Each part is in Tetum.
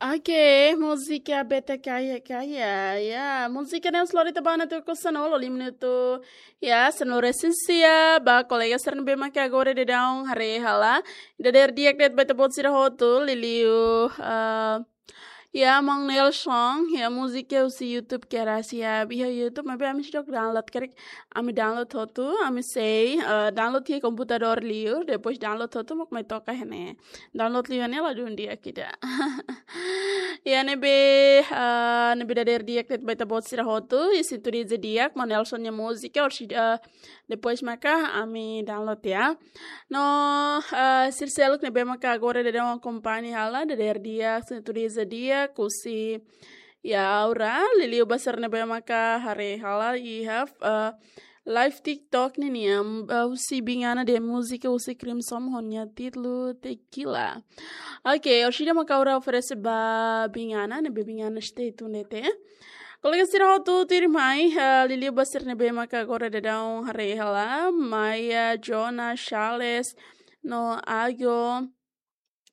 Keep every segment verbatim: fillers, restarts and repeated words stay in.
Oke, múzika B T K ya, kaya. Ya, múzika ne'e lori tiha ona tuku sanulu, lima minutu. Ya, sanulu resin sia, ba kolega sira ne'ebé maka agora daudaun haree hela. Dadeer di'ak de'it ba ita-boot sira hotu, liuliu, eh, ya, Maun Nelson, ya, múzika husi YouTube kedas ya. Iha YouTube, maibé ami seidauk download, karik ami download hotu, ami sei, eh, download iha komputadór liur, depois download hotu, mak mai toka iha ne'e. Download liu iha ne'e ladún di'ak ida. Ya, ne'ebé, eh, ne'ebé dadeer di'ak de'it ba ita-boot sira hotu, i sintoniza di'ak, Maun Nelson nia múzika, orsida, eh, depois maka ami download ya. No, eh, sira seluk ne'ebé maka agora daudaun akompaña hela, dadeer di'ak, sintoniza di'ak, husi, ya, Aura, liuliu ba sira ne'ebé maka haree hela iha, eh, live TikTok ninian, eh, husi Bingana dehan múzika husi Crimson ho nia títulu Tequila. Oke, orsida maka Aura oferese ba Bingana, ne'ebé Bingana stay tuned de'it. Kolega sira hotu tuirmai, eh, liuliu ba sira ne'ebé maka agora daudaun haree hela, Maia, Jonas, Charles, no Ago,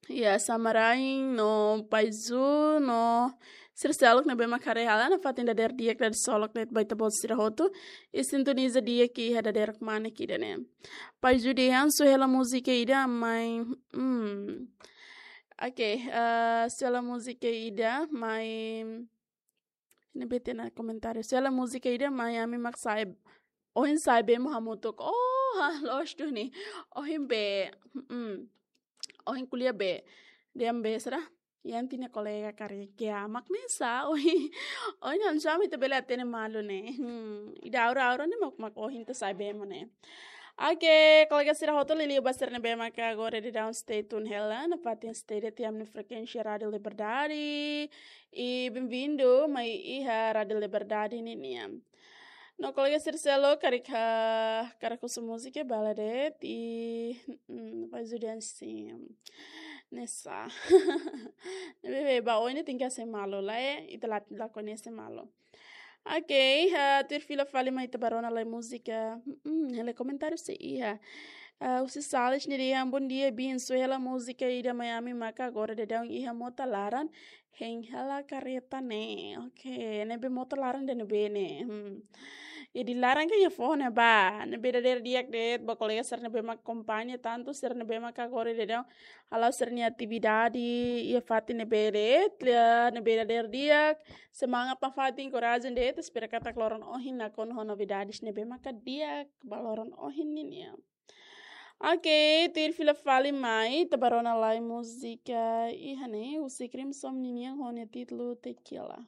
ya, Samarain, no Paizu, no sira seluk ne'ebé maka haree hela, nafatin dadeer di'ak dadeer solok de'it ba ita-boot sira hotu, i sintoniza di'ak iha dadeer kmanek ida-ne'e. Paizu dehan husu hela múzika ida mai, hmm. Oke, eh, husu hela múzika ida mai, ne'ebé hatene komentáriu. Husu hela múzika ida mai ami mak sa'e, ohin sa'e bee mak hamutuk. Oh, ha, loos duni. Ohin bee, hmm. Ohin ko'alia bee. Dehan bee sira. Yanti nia kolega karik ya, mak ne'e sá, ohin. Ohin hanesan ami ita bele hatene malu ne'e. Hmm, ida Aura, Aura ne'e mak, mak ohin ita sa'e bee mak ne'e. Oke, kolega sira hotu, liuliu ba sira ne'ebé maka agora daudaun stay tune hela, nafatin stay de'it iha ami-nia frekuénsia Rádio Liberdade. I bem-vindo mai iha Rádio Liberdade ninian. No kolega sira seluk karik ha-, hakarak husu múzika bele de'it, i, mm, Paizu dehan sin. Ne'e sá. Ne'ebé, ba oin ne'e tenke hase'e malu, lae, ita la, la koñese malu. Oke, eh, tuir fila fali mai ita bá rona lai múzika. Mm, hela komentáriu sei iha. Eh, husi Sales nia dehan, bom dia, Bin, husu hela múzika ida mai ami maka agora daudaun iha mota laran hein hela karreta ne'e. Oke, ne'ebé mota laran ida ne'ebé ne'e. Hmm. Jadi laran ka iha foho ne'ebá. Ne'ebé dadeer di'ak de'it ba kolega sira ne'ebé mak akompaña, tantu sira ne'ebé maka agora daudaun hala'o sira-nia atividade iha fatin ne'ebé de'it, iha ne'ebé dadeer di'ak, semangat nafatin, korajen de'it, espera katak loron ohin nakonu ho novidades ne'ebé maka di'ak ba loron ohin ninian. Oke, tuir fila fali mai, ita bá rona lai múzika iha ne'e, husi Crimson ninian ho nia títulu Tequila.